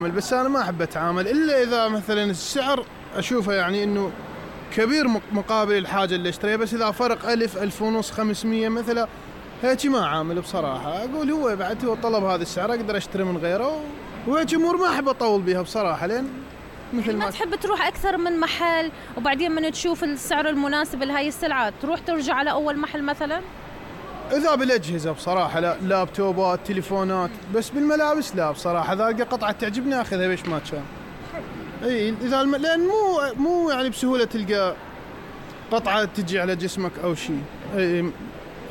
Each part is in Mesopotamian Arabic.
بس أنا ما أحب أتعامل إلا إذا مثلا السعر أشوفه يعني إنه كبير مقابل الحاجة اللي أشتريها. بس إذا فرق 1000 1500 500 مثلا هيك ما أعامل بصراحة. أقول هو بعد هو طلب هذا السعر أقدر أشتري من غيره، وهيك أمور ما أحب أطول بيها بصراحة. لين مثل ما تحب تروح أكثر من محل وبعدين من تشوف السعر المناسب لهاي السلعة تروح ترجع على أول محل مثلا؟ إذا بالأجهزة بصراحة لا، لابتوبات تليفونات. بس بالملابس لا بصراحة، إذا ألقى قطعة تعجبني أخذها بيش ما كان. إي إذا لأن مو يعني بسهولة تلقى قطعة تجي على جسمك أو شيء. إي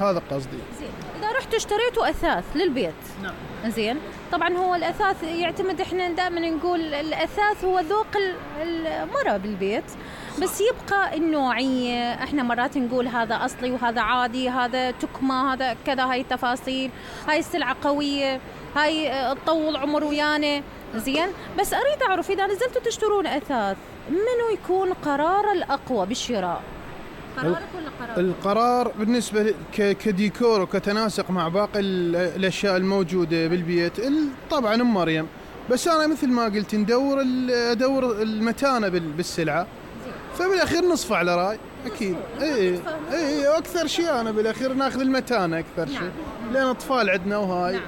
هذا قصدي. زين، إذا رحت اشتريتوا أثاث للبيت. نعم. زين، طبعا هو الأثاث يعتمد، إحنا دائما نقول الأثاث هو ذوق المرأة بالبيت. بس يبقى النوعية، احنا مرات نقول هذا أصلي وهذا عادي، هذا تكمة، هذا كذا، هاي التفاصيل، هاي السلعة قوية، هاي تطول عمر ويانا. زين، بس أريد أعرف إذا نزلتوا تشترون أثاث منو يكون قرار الأقوى بالشراء؟ قرارك ولا قرار؟ القرار بالنسبة كديكور وكتناسق مع باقي الأشياء الموجودة بالبيت طبعا أم مريم. بس أنا مثل ما قلت ندور المتانة بالسلعة، فبالأخير نصف على رأي أكيد. إيه أكثر شيء أنا بالأخير ناخذ المتانة أكثر شيء. لأن أطفال عندنا وهاي. نعم.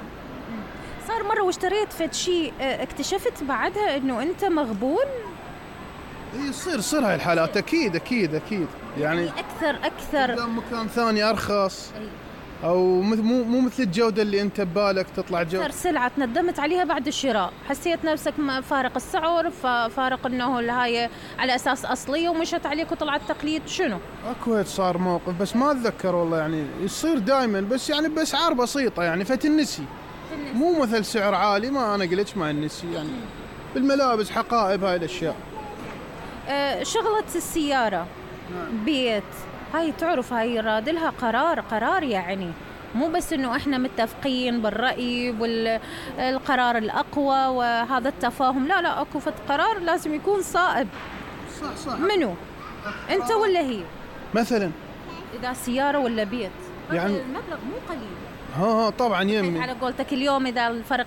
صار مرة واشتريت فد شيء اكتشفت بعدها إنه أنت مغبون. يصير هاي الحالات أكيد يعني أكثر مكان ثاني أرخص أو مو مثل الجودة اللي أنت ببالك تطلع جودة. أكثر سلعة تندمت عليها بعد الشراء، حسيت نفسك فارق السعر، فارق إنه هاي على أساس أصلية ومشت عليك وطلعت تقليد. شنو؟ أكو صار موقف بس ما أتذكر والله، يعني يصير دائما بس يعني بأسعار بسيطة يعني فتنسي. مو مثل سعر عالي، ما أنا قلتش ما النسي يعني. بالملابس حقائب هاي الأشياء. شغلة السيارة. نعم. بيت هاي تعرف هاي رادلها قرار يعني مو بس انه احنا متفقين بالرأي والقرار الأقوى وهذا التفاهم، لا اكو فت قرار لازم يكون صائب. صح. منو انت ولا هي؟ مثلا اذا سيارة ولا بيت يعني المبلغ مو قليل. ها طبعا يمي على قولتك اليوم إذا الفرق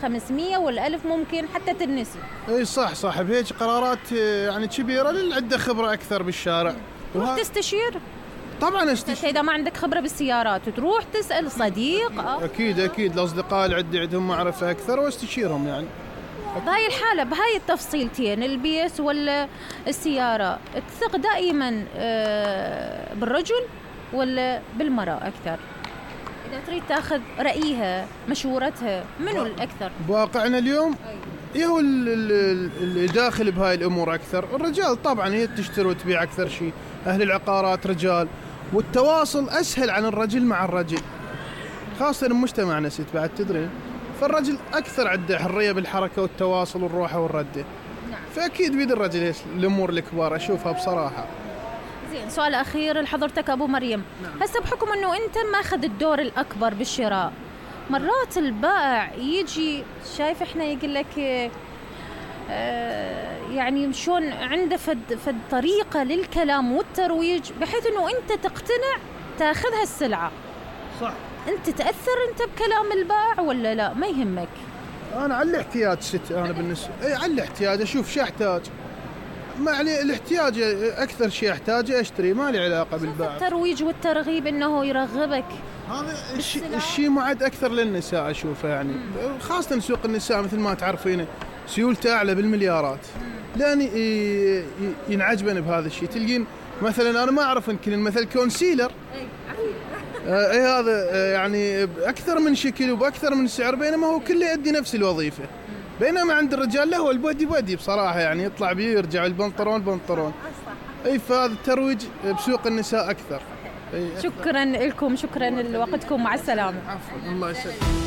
500 وال1000 ممكن حتى تنسي. اي صح بهيج قرارات يعني كبيرة للعدة خبرة أكثر بالشارع. تروح تستشير؟ طبعا استشير. إذا ما عندك خبرة بالسيارات تروح تسأل صديق. أكيد الأصدقاء اللي عندهم معرفة أكثر واستشيرهم يعني. بهاي الحالة بهاي التفصيلتين البيت ولا السيارة تثق دائما بالرجل ولا بالمرأة أكثر؟ إذا تريد تأخذ رأيها مشورتها منو الأكثر؟ بواقعنا اليوم هو اللي داخل بهاي الأمور أكثر. الرجال طبعا هي تشتري وتبيع أكثر شيء، أهل العقارات رجال، والتواصل أسهل عن الرجل مع الرجل، خاصة مجتمعنا ست بعد تدري. فالرجل أكثر عنده حرية بالحركة والتواصل والروحة والردة. نعم. فأكيد بيد الرجل الأمور الكبار أشوفها بصراحة. زين، سؤال أخير لحضرتك أبو مريم. نعم. هسه بحكم أنه أنت ماخذ الدور الأكبر بالشراء، مرات البائع يجي شايف إحنا يقول لك يعني شون عنده فد طريقة للكلام والترويج بحيث أنه أنت تقتنع تأخذ هالسلعة. صح. أنت تأثر أنت بكلام البائع ولا لا؟ ما يهمك؟ أنا على الاحتياج ست، أنا بالنسبة على الاحتياج أشوف شو أحتاج، ما عليه الاحتياج أكثر شيء أحتاجه أشتري، ما لي علاقة بالبائع. الترويج والترغيب إنه يرغبك هذا الشيء معد أكثر للنساء أشوفه يعني. خاصة سوق النساء مثل ما تعرفين سيولته أعلى بالمليارات، لأن ينعجبن بهذا الشيء. تلقين مثلا أنا ما أعرف يمكن المثل كونسيلر اي هذا يعني باكثر من شكل وباكثر من سعر، بينما هو كله يؤدي نفس الوظيفه. بينما عند الرجال له البودي بصراحه يعني يطلع بيه يرجع البنطلون. اي فهذا الترويج بسوق النساء اكثر. شكرا لكم، شكرا لوقتكم، مع السلامه. عفوا الله يسلمك.